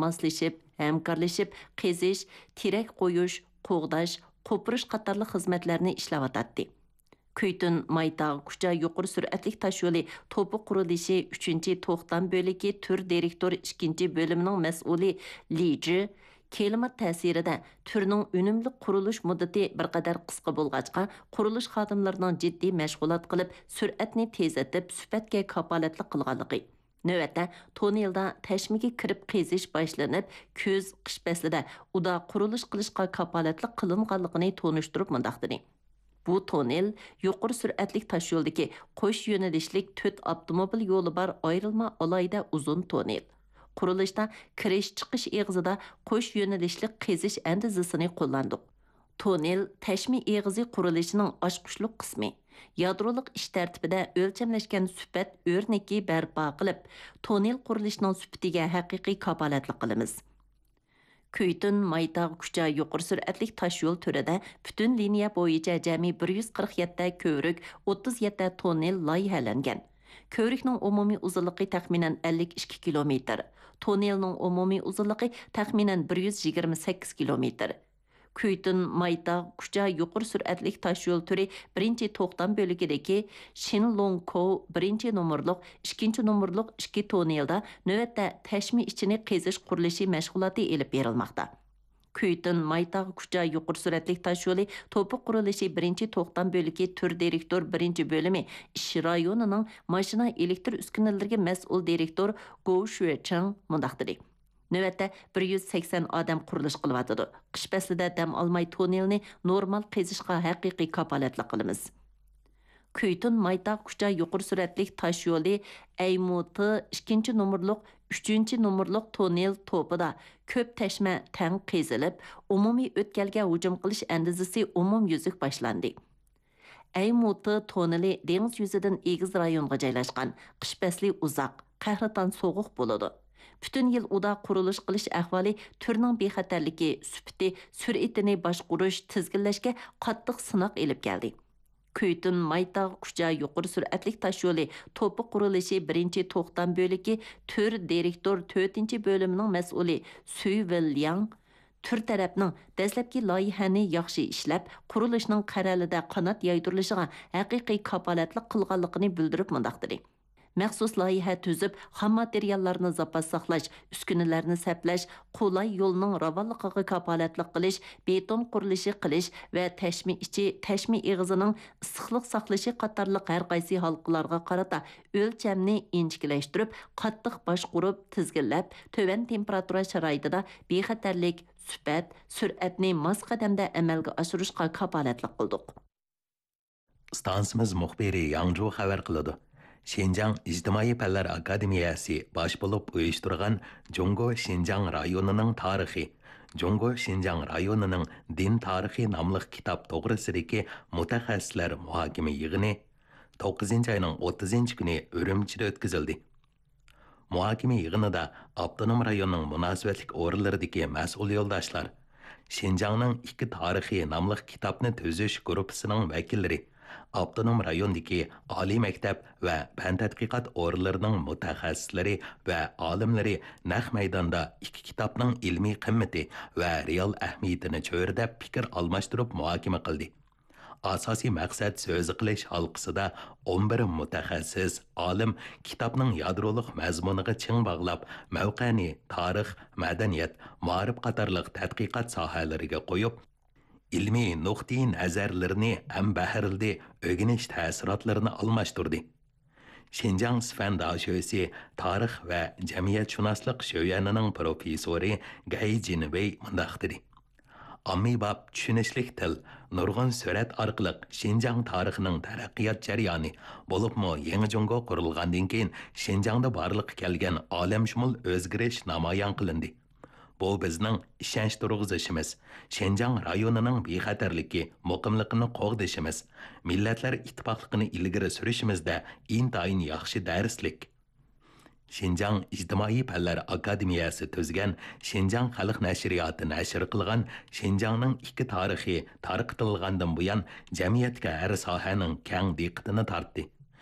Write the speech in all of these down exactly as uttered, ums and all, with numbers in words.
ماسلىشىپ، ھەمكارلىشىپ قېزىش، تېرەك قويۇش، قوغداش، قوپۇرۇش قاتارلىق خىزمەتلەرنى ئىشلەۋاتاتتى. كۈيتۇن مايتاغ كۇچا يۇقىرى سۈرئەتلىك تاشيولى توپا قۇرۇلۇشى ئۈچىنچى توختام بۆلىكى تۈر دىرېكتور ئىككىنچى بۆلۈمىنىڭ مەسئۇلى لى جى، كىلىمات تەسىرىدە تۈرنىڭ ئۈنۈملۈك قۇرۇلۇش مۇددىتى بىر قەدەر قىسقا بولغاچقا، قۇرۇلۇش خادىملىرىنىڭ جىددىي مەشغۇلات قىلىپ، سۈرئەتنى تېزلىتىپ، سۈپەتكە كاپالەتلىك قىلغانلىقى، نۆۋەتتە توننېلدا تەشمىگە كىرىپ قېزىش باشلىنىپ، كۈز، قىش پەسلىدە ئۇدا قۇرۇلۇش قىلىشقا كاپالەتلىك قىلىنغانلىقىنى تونۇشتۇرۇپ مۇنداق دېدى: بۇ توننېل يۇقىرى سۈرئەتلىك تاشيولدىكى قوش يۆنىلىشلىك تۆت ئاپتوموبىل يولى بار ئايرىلما ئالاھىدە ئۇزۇن توننېل. قۇرۇلۇشتا كىرىش-چىقىش ئېغىزىدا قوش يۆنىلىشلىك قېزىش ئەندىزىسىنى قوللاندۇق. توننېل تەشمە ئېغىزى قۇرۇلۇشىنىڭ ئاچقۇچلۇق قىسمى. يادرولۇق ئىش تەرتىپىدە ئۆلچەملەشكەن سۈپەت ئۆرنىكى بەرپا قىلىپ، توننېل قۇرۇلۇشىنىڭ سۈپىتىگە ھەقىقىي كاپالەتلىك قىلىمىز. كۈيتۇن مايتاغ كۇچا يۇقىرى سۈرئەتلىك تاشيول تۈرىدە پۈتۈن لىنىيە بويىچە جەمئىي بىر يۈز قىرىق يەتتە كۆۋرۈك، ئوتتۇز يەتتە توننېل لايىھەلەنگەن. كۆۋرۈكنىڭ ئومۇمىي ئۇزۇنلۇقى تەخمىنەن ئەللىك ئىككى كىلومېتىر، توننېلنىڭ ئومۇمىي ئۇزۇنلۇقى تەخمىنەن بىر يۈز يىگىرمە سەككىز كىلومېتىر. كۈيتۇن مايتاغ كۇچا يۇقىرى سۈرئەتلىك تاشيول تۈرى بىرىنچى توختام بۆلىكىدىكى شىنلوڭكوۋ بىرىنچى نومۇرلۇق، ئىككىنچى نومۇرلۇق ئىككى توننېلدا نۆۋەتتە تەشمە ئىچىنى قېزىش قۇرۇلۇشى مەشغۇلاتى ئېلىپ بېرىلماقتا. كۈيتۇن مايتاغ كۇچا يۇقىرى سۈرئەتلىك تاشيولى توپا قۇرۇلۇشى بىرىنچى توختام بۆلىكى تۈر دىرېكتور بىرىنچى بۆلۈمى ئىش رايونىنىڭ ماشىنا ئېلېكتر ئۈسكۈنىلىرىگە مەسئۇل دىرېكتور گوۋ شۈەچېڭ مۇنداق دېدى: نۆۋەتتە بىر يۈز سەكسەن ئادەم قۇرۇلۇش قىلىۋاتىدۇ. قىش پەسلىدە دەم ئالماي توننېلنى نورمال قېزىشقا ھەقىقىي كاپالەتلىك قىلىمىز. كۈيتۇن مايتاغ كۇچا يۇقىرى سۈرئەتلىك تاش يولى ئەيمۇتى ئىككىنچى نومۇرلۇق، ئۈچىنچى نومۇرلۇق توننېل توپىدا كۆپ تەشمە تەڭ قېزىلىپ، ئومۇمىي ئۆتكەلگە ھۇجۇم قىلىش ئەندىزىسى ئومۇميۈزلۈك باشلاندى. ئەيمۇتى توننېلى دېڭىز يۈزىدىن ئېگىز رايونغا جايلاشقان، قىش پەسلى ئۇزاق، قەھرىتان سوغۇق بولىدۇ. پۈتۈن يىل ئۇدا قۇرۇلۇش قىلىش ئەھۋالى تۈرنىڭ بىخەتەرلىكى، سۈپىتى، سۈرئىتىنى باشقۇرۇش، تىزگىنلەشكە قاتتىق سىناق ئېلىپ كەلدى. كۈيتۇن مايتاغ كۇچا يۇقىرى سۈرئەتلىك تاش يولى توپا قۇرۇلۇشى بىرىنچى توختام بۆلىكى تۈر دىرېكتور تۆتىنچى بۆلۈمىنىڭ مەسئۇلى سۈي ۋېن لياڭ تۈر تەرەپنىڭ دەسلەپكى لايىھەنى ياخشى ئىشلەپ، قۇرۇلۇشنىڭ قەرەلىدە قانات يايدۇرۇلۇشىغا ھەقىقىي كاپالەتلىك قىلغانلىقىنى بىلدۈرۈپ مۇنداق دېدى: مەخسۇس لايىھە تۈزۈپ، خام ماتېرىياللارنى زاپاس ساقلاش، ئۈسكۈنىلەرنى سەپلەش، قولاي يولنىڭ راۋانلىقىغا كاپالەتلىك قىلىش، بېتون قۇرۇلۇشى قىلىش ۋە تەشمە ئىچى، تەشمە ئېغىزىنىڭ ئىسسىقلىق ساقلىشى قاتارلىق ھەر قايسى ھالقىلارغا قارىتا ئۆلچەمنى ئىنچىكىلەشتۈرۈپ، قاتتىق باشقۇرۇپ، تىزگىنلەپ، تۆۋەن تېمپېراتۇرا شارائىتىدا بىخەتەرلىك، سۈپەت، سۈرئەتنى ماس قەدەمدە ئەمەلگە ئاشۇرۇشقا كاپالەتلىك قىلدۇق. ئىستانسىمىز مۇخبىرى ياڭجۇ خەۋەر قىلىدۇ. شىنجاڭ ئىجتىمائىي پەنلەر ئاكادېمىيەسى باش بولۇپ ئۇيۇشتۇرغان جۇڭگو شىنجاڭ رايونىنىڭ تارىخى، جۇڭگو شىنجاڭ رايونىنىڭ دىن تارىخى ناملىق كىتاب توغرىسىدىكى مۇتەخەسسىسلەر مۇھاكىمە يىغىنى توققۇزىنچى ئاينىڭ ئوتتۇزىنچى كۈنى ئۈرۈمچىدە ئۆتكۈزۈلدى. مۇھاكىمە يىغىنىدا ئاپتونوم رايوننىڭ مۇناسىۋەتلىك ئورۇنلىرىدىكى مەسئۇل يولداشلار، شىنجاڭنىڭ ئىككى تارىخى ناملىق كىتابنى تۈزۈش گۇرۇپپىسىنىڭ ۋەكىللىرى، ئاپتونوم رايوندىكى ئالىي مەكتەپ ۋە پەن تەتقىقات ئورۇنلىرىنىڭ مۇتەخەسسىسلىرى ۋە ئالىملىرى نەق مەيداندا ئىككى كىتابنىڭ ئىلمىي قىممىتى ۋە رېئال ئەھمىيىتىنى چۆرىدەپ پىكىر ئالماشتۇرۇپ مۇھاكىمە قىلدى. ئاساسىي مەقسەت سۆزى قىلىش ھالقىسىدا ئون بىر مۇتەخەسسىس، ئالىم كىتابنىڭ يادرولۇق مەزمۇنىغا چىڭ باغلاپ، مەۋقەنى تارىخ، مەدەنىيەت، مائارىپ قاتارلىق تەتقىقات ساھەلىرىگە قويۇپ، ئىلمىي نۇقتىئىنەزەرلىرىنى ھەمبەھىرلىدى، ئۆگىنىش تەسىراتلىرىنى ئالماشتۇردى. شىنجاڭ سىفەن داشۆسى تارىخ ۋە جەمئىيەتشۇناسلىق شۆيۈەنىنىڭ پروفېسسورى گەي جىنۋېي مۇنداق دېدى: ئاممىباب، چۈشىنىشلىك تىل، نۇرغۇن سۈرەت ئارقىلىق شىنجاڭ تارىخىنىڭ تەرەققىيات جەريانى، بولۇپمۇ يېڭى جۇڭگو قۇرۇلغاندىن كېيىن شىنجاڭدا بارلىققا كەلگەن ئالەمشۇمۇل ئۆزگىرىش نامايان قىلىندى. بۇ بىزنىڭ ئىشەنچ تۇرغۇزۇشىمىز، شىنجاڭ رايونىنىڭ بىخەتەرلىكى، مۇقىملىقىنى قوغدىشىمىز، مىللەتلەر ئىتتىپاقلىقىنى ئىلگىرى سۈرۈشىمىزدە ئىنتايىن ياخشى دەرسلىك. شىنجاڭ ئىجتىمائىي پەنلەر ئاكادېمىيەسى تۈزگەن شىنجاڭ خەلق نەشرىياتى نەشر قىلغان شىنجاڭنىڭ ئىككى تارىخى تارقىتىلغاندىن بۇيان، جەمئىيەتتىكى ھەر ساھەنىڭ كەڭ دىققىتىنى تارتتى.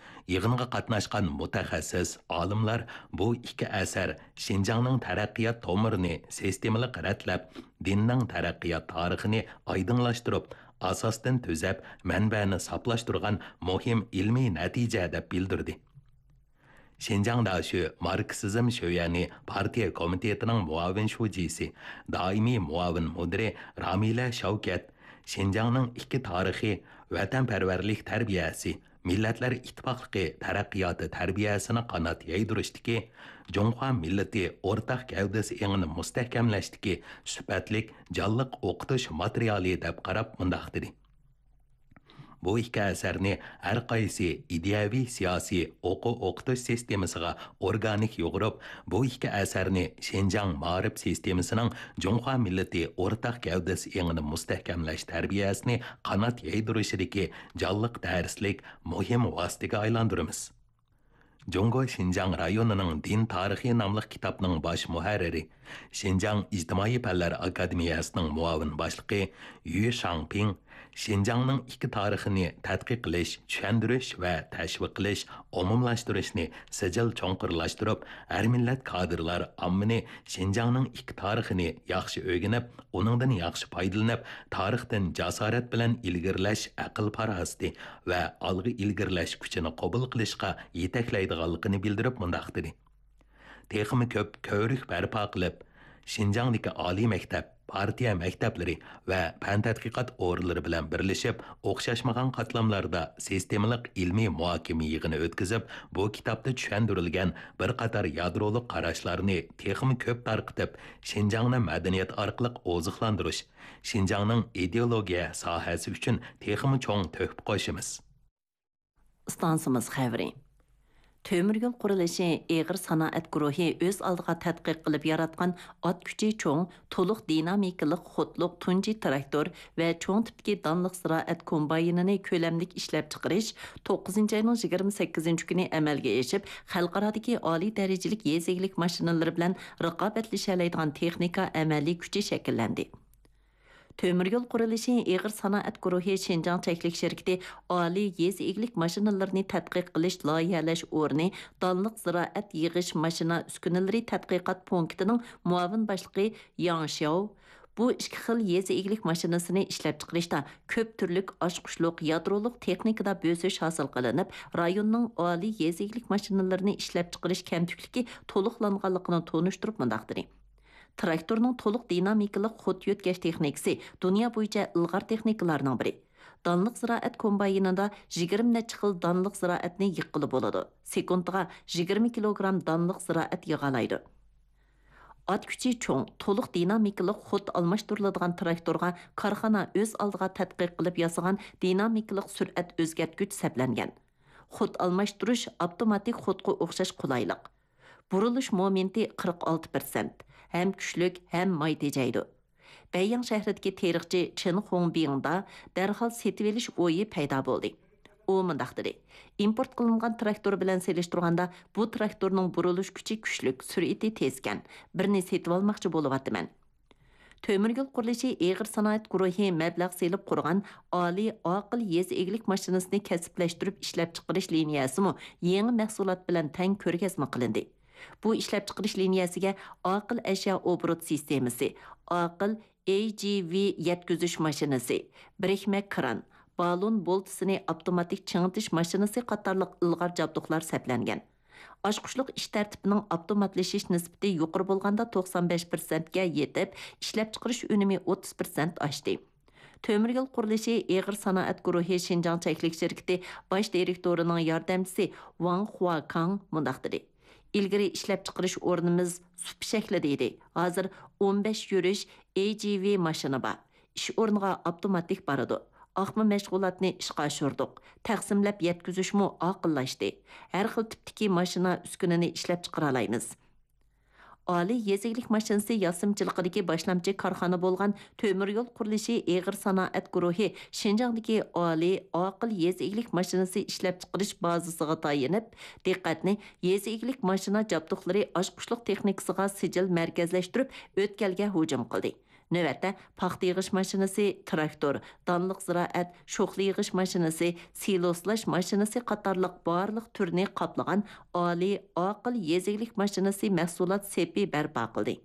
يىغىنغا قاتناشقان مۇتەخەسسىس ئالىملار بۇ ئىككى ئەسەر شىنجاڭنىڭ تەرەققىيات تومۇرىنى سىستېمىلىق رەتلەپ، دىننىڭ تەرەققىيات تارىخىنى ئايدىڭلاشتۇرۇپ، ئاساستىن تۈزەپ، مەنبەنى ساپلاشتۇرغان مۇھىم ئىلمىي نەتىجە دەپ بىلدۈردى. شىنجاڭ داشۆ ماركسىزم شۆيەنى پارتىيە كومىتېتىنىڭ مۇئاۋىن شۇجىسى، دائىمىي مۇئاۋىن مۇدىرى رامىلە شەۋكەت، شىنجاڭنىڭ ئىككى تارىخى، ۋەتەنپەرۋەرلىك تەربىيەسى، مىللەتلەر ئىتتىپاقلىقى تەرەققىياتى تەربىيەسىنى قانات يايدۇرۇشتىكى، جۇڭخۇا مىللىتى ئورتاق گەۋدىسى ئېڭىنى مۇستەھكەملەشتىكى سۈپەتلىك جانلىق ئوقۇتۇش ماتېرىيالى دەپ قاراپ مۇنداق دېدى: بۇ ئىككى ئەسەرنى ھەر قايسى ئىدىيەۋى، سىياسىي، ئوقۇ-ئوقۇتۇش سىستېمىسىغا ئورگانىك يۇغۇرۇپ، بۇ ئىككى ئەسەرنى شىنجاڭ مائارىپ سىستېمىسىنىڭ جۇڭخۇا مىللىتى ئورتاق گەۋدىسى ئېڭىنى مۇستەھكەملەش تەربىيەسىنى قانات يايدۇرۇشىدىكى جانلىق دەرسلىك مۇھىم ۋاسىتىگە ئايلاندۇرىمىز. جۇڭگو شىنجاڭ رايونىنىڭ دىن تارىخى ناملىق كىتابنىڭ باش مۇھەررىرى، شىنجاڭ ئىجتىمائىي پەنلەر ئاكادېمىيەسىنىڭ مۇئاۋىن باشلىقى يۈ شاڭپىڭ شىنجاڭنىڭ ئىككى تارىخىنى تەتقىق قىلىش، چۈشەندۈرۈش ۋە تەشۋىق قىلىش، ئومۇملاشتۇرۇشنى سىجىل چوڭقۇرلاشتۇرۇپ، ھەر مىللەت كادىرلار ئاممىنى شىنجاڭنىڭ ئىككى تارىخىنى ياخشى ئۆگىنىپ، ئۇنىڭدىن ياخشى پايدىلىنىپ، تارىختىن جاسارەت بىلەن ئىلگىرىلەش ئەقىل-پاراسىتى ۋە ئالغا ئىلگىرىلەش كۈچىنى قوبۇل قىلىشقا يېتەكلەيدىغانلىقىنى بىلدۈرۈپ مۇنداق دېدى: تېخىمۇ كۆپ كۆۋرۈك بەرپا قىلىپ، شىنجاڭدىكى ئالىي مەكتەپ، پارتىيە مەكتەپلىرى ۋە پەن تەتقىقات ئورۇنلىرى بىلەن بىرلىشىپ، ئوخشاشمىغان قاتلاملاردا سىستېمىلىق ئىلمىي مۇھاكىمە يىغىنى ئۆتكۈزۈپ، بۇ كىتابتا چۈشەندۈرۈلگەن بىر قاتار يادرولۇق قاراشلارنى تېخىمۇ كۆپ تارقىتىپ، شىنجاڭنى مەدەنىيەت ئارقىلىق ئوزۇقلاندۇرۇش، شىنجاڭنىڭ ئىدېئولوگىيە ساھەسى ئۈچۈن تېخىمۇ چوڭ تۆھپە قوشىمىز. ئىستانسىمىز خەۋىرى. تۆمۈر يول قۇرۇلۇشى ئېغىر سانائەت گۇرۇھى ئۆز ئالدىغا تەتقىق قىلىپ ياراتقان ئات كۈچى چوڭ، تولۇق دىنامىكىلىق خودلۇق تۇنجى تىراكتور ۋە چوڭ تىپتىكى دانلىق زىرائەت كومباينىنى كۆلەملىك ئىشلەپچىقىرىش توققۇزىنچى ئاينىڭ يىگىرمە سەككىزىنچى كۈنى ئەمەلگە ئېشىپ، خەلقئارادىكى ئالىي دەرىجىلىك يېزا ئىگىلىك ماشىنىلىرى بىلەن رىقابەتلىشەلەيدىغان تېخنىكا ئەمەلىي كۈچى شەكىللەندى. تۆمۈر يول قۇرۇلۇشى ئېغىر سانائەت گۇرۇھى شىنجاڭ چەكلىك شىركىتى ئالىي يېزا ئىگىلىك ماشىنىلىرىنى تەتقىق قىلىش، لايىھەلەش ئورنى دانلىق زىرائەت يىغىش ماشىنا ئۈسكۈنىلىرى تەتقىقات پونكىتىنىڭ مۇئاۋىن باشلىقى ياڭ شياۋ بۇ ئىككى خىل يېزا ئىگىلىك ماشىنىسىنى ئىشلەپچىقىرىشتا كۆپ تۈرلۈك ئاچقۇچلۇق يادرولۇق تېخنىكىدا بۆسۈش ھاسىل قىلىنىپ، رايوننىڭ ئالىي يېزا ئىگىلىك ماشىنىلىرىنى ئىشلەپچىقىرىش كەمتۈكلۈكى تولۇقلانغانلىقىنى تونۇشتۇرۇپ مۇنداق دېدى: تىراكتورنىڭ تولۇق دىنامىكىلىق خود يۆتكەش تېخنىكىسى دۇنيا بويىچە ئىلغار تېخنىكىلارنىڭ بىرى. دانلىق زىرائەت كومباينىدا يىگىرمە نەچچە خىل دانلىق زىرائەتنى يىغقىلى بولىدۇ. سېكۇنتىغا يىگىرمە كىلوگرام دانلىق زىرائەت يىغالايدۇ. ئات كۈچى چوڭ، تولۇق دىنامىكىلىق خود ئالماشتۇرۇلىدىغان تىراكتورغا كارخانا ئۆز ئالدىغا تەتقىق قىلىپ ياسىغان دىنامىكىلىق سۈرئەت ئۆزگەرتكۈچ سەپلەنگەن. خود ئالماشتۇرۇش ئاپتوماتىك خودقا ئوخشاش قولايلىق. بۇرۇلۇش مومېنتى قىرىق ئالتە پىرسەنت، ھەم كۈچلۈك، ھەم ماي تېجەيدۇ. بەيياڭ شەھىرىدىكى تېرىقچى چېن خۇڭبىڭدا دەرھال سېتىۋېلىش ئويى پەيدا بولدى. ئۇ مۇنداق دېدى: ئىمپورت قىلىنغان تىراكتور بىلەن سېلىشتۇرغاندا، بۇ تىراكتورنىڭ بۇرۇلۇش كۈچى كۈچلۈك، سۈرئىتى تېزكەن. بىرنى سېتىۋالماقچى بولۇۋاتىمەن. تۆمۈر يول قۇرۇلۇشى ئېغىر سانائەت گۇرۇھى مەبلەغ سېلىپ قۇرغان ئالىي ئاقىل يېزا ئىگىلىك ماشىنىسىنى كەسىپلەشتۈرۈپ ئىشلەپچىقىرىش لىنىيەسىمۇ يېڭى مەھسۇلات بىلەن تەڭ كۆرگەزمە قىلىندى. بۇ ئىشلەپچىقىرىش لىنىيەسىگە ئاقىل ئەشيا ئوبوروت سىستېمىسى، ئاقىل ئەي جى ۋى يەتكۈزۈش ماشىنىسى، بىرىكمە كران، بالون بولتىسىنى ئاپتوماتىك چىڭىتىش ماشىنىسى قاتارلىق ئىلغار جابدۇقلار سەپلەنگەن. ئاچقۇچلۇق ئىش تەرتىپىنىڭ ئاپتوماتلىشىش نىسبىتى يۇقىرى بولغاندا توقسان بەش پىرسەنتكە يېتىپ، ئىشلەپچىقىرىش ئۈنۈمى ئوتتۇز پىرسەنت ئاشتى. تۆمۈر يول قۇرۇلۇشى ئېغىر سانائەت گۇرۇھى شىنجاڭ چەكلىك شىركىتى باش دىرېكتورىنىڭ ياردەمچىسى ۋاڭ خۇاكاڭ مۇنداق دېدى: ئىلگىرى ئىشلەپچىقىرىش ئورنىمىز سۇپ شەكلىدە ئىدى. ھازىر ئون بەش يۈرۈش ئەي جى ۋى ماشىنا بار. ئىش ئورنىغا ئاپتوماتىك بارىدۇ. ئاقما مەشغۇلاتنى ئىشقا ئاشۇردۇق. تەقسىملەپ يەتكۈزۈشمۇ ئاقىللاشتى. ھەر خىل تىپتىكى ماشىنا ئۈسكۈنىنى ئىشلەپچىقىرالايمىز. ئالىي يېزا ئىگىلىك ماشىنىسى ياسىمىچىلىقىدىكى باشلامچى كارخانا بولغان تۆمۈر يول قۇرۇلۇشى ئېغىر سانائەت گۇرۇھى شىنجاڭدىكى ئالىي ئاقىل يېزا ئىگىلىك ماشىنىسى ئىشلەپچىقىرىش بازىسىغا تايىنىپ، دىققەتنى يېزا ئىگىلىك ماشىنا جابدۇقلىرى ئاچقۇچلۇق تېخنىكىسىغا سىجىل مەركەزلەشتۈرۈپ، ئۆتكەلگە ھۇجۇم قىلدى. نۆۋەتتە پاختا يىغىش ماشىنىسى، تىراكتور، دانلىق زىرائەت، شوخلا يىغىش ماشىنىسى، سىلوسلاش ماشىنىسى قاتارلىق بارلىق تۈرنى قاپلىغان ئالىي، ئاقىل يېزا ئىگىلىك ماشىنىسى مەھسۇلات سېپى بەرپا قىلدى.